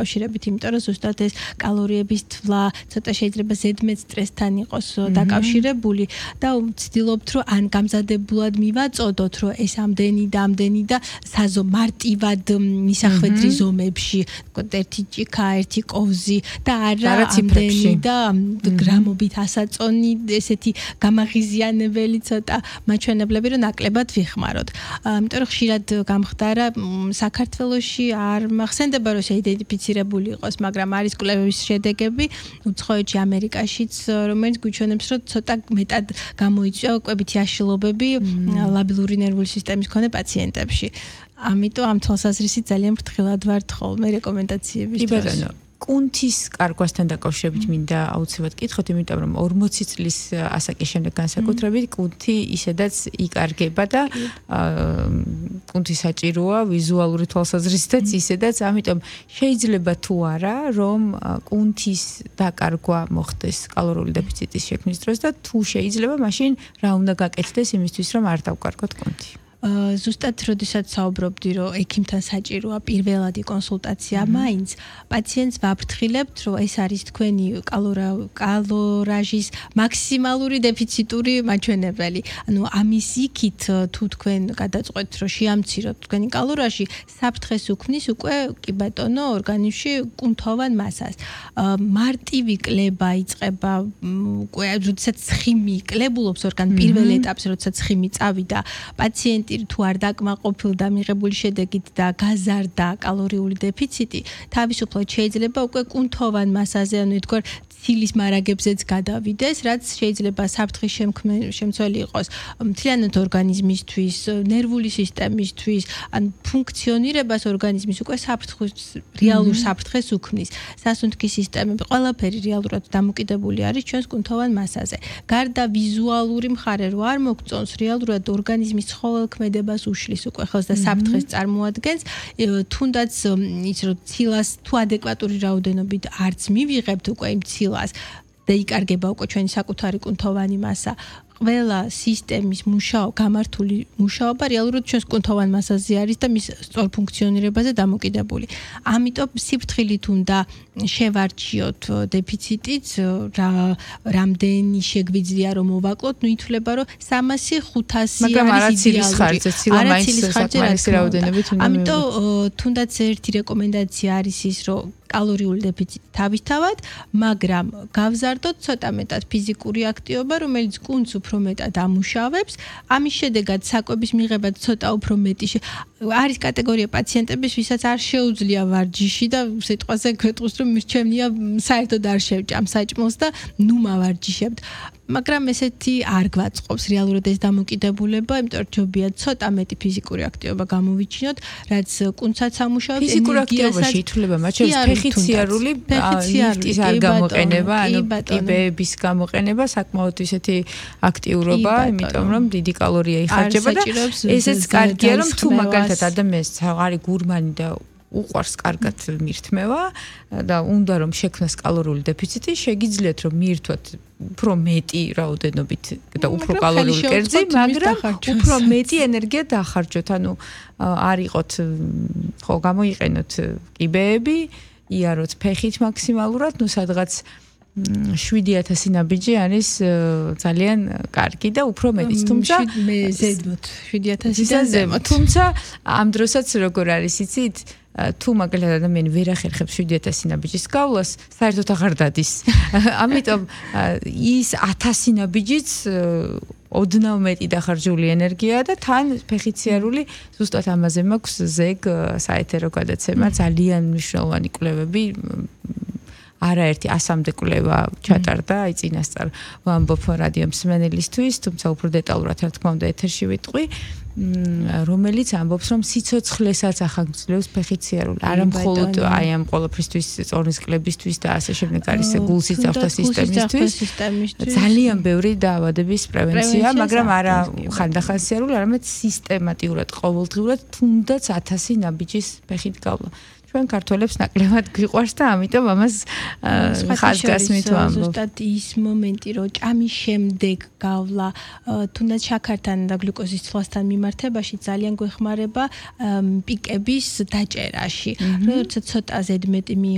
კავშირებით, იმიტომ რომ ზუსტად ეს კალორიების თვლა ცოტა შეიძლება ზედმეტ სტრესთან იყოს დაკავშირებული და ვცდილობთ რომ ან გამზადებულად მივაწოდოთ რომ ეს ამდენი და მარტივად მისახვედრი ზომებში, ერთი ჭიქა, ერთი კოვზი და არა ამდენი და გრამობით ასაწონი ესეთი გამაღიზიანებელი ცოტა მაჩვენებლები რომ ნაკლებად ვიხმაროთ. იმიტომ რომ ხშირად გამხდარა საქართველოში არ მახსენდება რომ შეიდენტიფიცირებული იყოს, მაგრამ არის კვლევების შედეგები უცხოეთში, ამერიკაშიც, რომელიც გვიჩვენებს რომ ცოტა მეტად გამოიწვია კვებითი აშლილობები ლაბილური ნერვული სისტემის მქონე პაციენტებში. ამიტომ ამ თვალსაზრისით ძალიან ფრთხილად ვართ ხოლმე რეკომენდაციების დროს. კუნთის კარგვასთან დაკავშირებით მინდა აუცილებლად კითხოთ, იმიტომ რომ 40 წლის ასაკის შემდეგ განსაკუთრებით კუნთი ისედაც იკარგება და კუნთი საჭიროა ვიზუალური თვალსაზრისითაც ისედაც, ამიტომ შეიძლება თუ არა რომ კუნთის დაკარგვა მოხდეს კალორიული დეფიციტის შექმნის დროს და თუ შეიძლება მაშინ რა უნდა გაკეთდეს იმისთვის რომ არ დავკარგოთ კუნთი. ზუსტად როდესაც საუბრობდი რომ ექიმთან საჭიროა პირველადი კონსულტაცია, მაინც პაციენტს ვაფრთხილებთ რომ ეს არის თქვენი კალორაჟის მაქსიმალური დეფიციტური მაჩვენებელი. ანუ ამის იქით თუ თქვენ გადაწყვეტთ რომ შეამციროთ თქვენი კალორაჟი, საფრთხეს უქმნის უკვე კი ბატონო ორგანიზმში კუნთოვან მასას. მარტივი კლება იწყება უკვე როდესაც ცხიმი კლებულობს ორგანიზმს პირველ ეტაპზე, როდესაც ცხიმი წავიდა, პაციენტი თუ არ დაკმაყოფილდა მიღებული შედეგით და გაზარდა კალორიული დეფიციტი, თავისუფლად შეიძლება უკვე კუნთოვან მასაზე, ანუ ითქვათ ცილის მარაგებზეც გადავიდეს, რაც შეიძლება საფრთხის შემცველი იყოს მთლიანად ორგანიზმისთვის, ნერვული სისტემისთვის, ან ფუნქციონირებას ორგანიზმის უკვე რეალურ საფრთხეს უქმნის. სასუნთქი სისტემები ყველაფერი რეალურად დამოკიდებული არის ჩვენს კუნთოვან მასაზე. გარდა ვიზუალური მხარე რო არ მოგწონს, რეალურად ორგანიზმის ცხოველქმედებას უშლის უკვე ხელს და საფრთხეს წარმოადგენს, თუნდაც ის რომ ცილას თუ ადეკვატური რაოდენობით არც მივიღებთ უკვე იმ ცილას და იკარგება უკვე ჩვენი საკუთარი კუნთოვანი მასა, ყველა სისტემის გამართული მუშაობა რეალურად ჩვენს კუნთოვან მასაზე არის და მის სწორ ფუნქციონირებაზე დამოკიდებული. ამიტომ სიფრთხილით უნდა შევარჩიოთ დეფიციტიც, რამდენი შეგვიძლია რომ მოვაკლოთ, ითვლება რომ 300-500 მაგრამ არა ცილის ხარჯზე, ცილა მაინც საკმარისი რაოდენობით უნდა მივიღოთ. ამიტომ თუნდაც ერთი რეკომენდაცია არის ის, რომ კალორიული დეფიციტი თავისთავად, მაგრამ გავზარდოთ ცოტა მეტად ფიზიკური აქტივობა, რომელიც კუნთს უფრო მეტად ამუშავებს. ამის შედეგად საკვების მიღება ცოტა უფრო მეტი არის კატეგორია პაციენტების, ვისაც არ შეუძლია ვარჯიში და სიტყვაზე გვეტყვის რომ მირჩევნია საერთოდ არ შევჭამ საჭმელს და ნუ მავარჯიშებთ. მაგრამ ესეთი არ გვაწყობს რეალურად ეს დამოკიდებულება, იმიტომ რომ ჯობია ცოტა მეტი ფიზიკური აქტივობა გამოვიჩინოთ, რაც კუნთსაც ამუშავებს, ფიზიკურ აქტივობაში ითვლება მათ შორის ფეხიციარული, ლიფტის არ გამოყენება, ანუ ტიბების გამოყენება საკმაოდ ისეთი აქტიურობა, იმიტომ რომ დიდი კალორია იხარჯება და ესეც კარგია, რომ თუ მაგალითად ადამიანს არის გურმანი და უყვარს კარგად მირთმევა და უნდა რომ შექმნას კალორიული დეფიციტი, შეგიძლიათ რომ მიირთვათ უფრო მეტი რაოდენობით და უფრო კალორიული კერძი, მაგრამ უფრო მეტი ენერგია დაახარჯოთ. ანუ არ იყოთ ხო გამოიყენოთ კიბეები, იაროთ ფეხით მაქსიმალურად, ნუ სადღაც 7000 ნაბიჯი არის ძალიან კარგი და უფრო მეტიც, თუმცა ზედმოთ 7000-დან ზემოთ. თუმცა ამ დროსაც როგორ არის იცით, თუ მაგალითად ადამიანი ვერ ახერხებს 7000 ნაბიჯის გავლას, საერთოდ აღარ დადის. ამიტომ ის 1000 ნაბიჯიც ოდნავ მეტი დახარჯული ენერგიაა და თან ფეხიციარული ზუსტად ამაზე მაქვს ზეგ საეთერო გადაცემა, ძალიან მნიშვნელოვანი კვლევები, არაერთი 100-მდე კვლევა ჩატარდა, აი წინასწარ ვამბობ რადიო მსმენელისთვის, თუმცა უფრო დეტალურად რა თქმა უნდა ეთერში ვიტყვი, რომელიც ამბობს რომ სიცოცხლესაც ახანგრძლივს ფეხიციარული, არა მხოლოდ აი ამ ყველაფრისთვის, წორნის კლებისთვის და ასე შემდეგ არის გულსიცავთა სისტემისთვის. ძალიან ბევრი დაავადების პრევენცია, მაგრამ არა ხანდახანსიარული, არამედ სისტემატიურად, ყოველდღიურად თუნდაც 1000 ნაბიჯის ფეხით გავლა. ჩვენ ქართველებს ნაკლებად გვიყვარს და ამიტომ ამას ხაზგასმით ვამბობ. ზუსტად ის მომენტი, რომ ჭამის შემდეგ გავლა, თუნდაც შაქართან და გლუკოზის ცვლასთან მიმართებაში ძალიან გვეხმარება პიკების დაჭერაში. როცა ცოტა ზედმეტი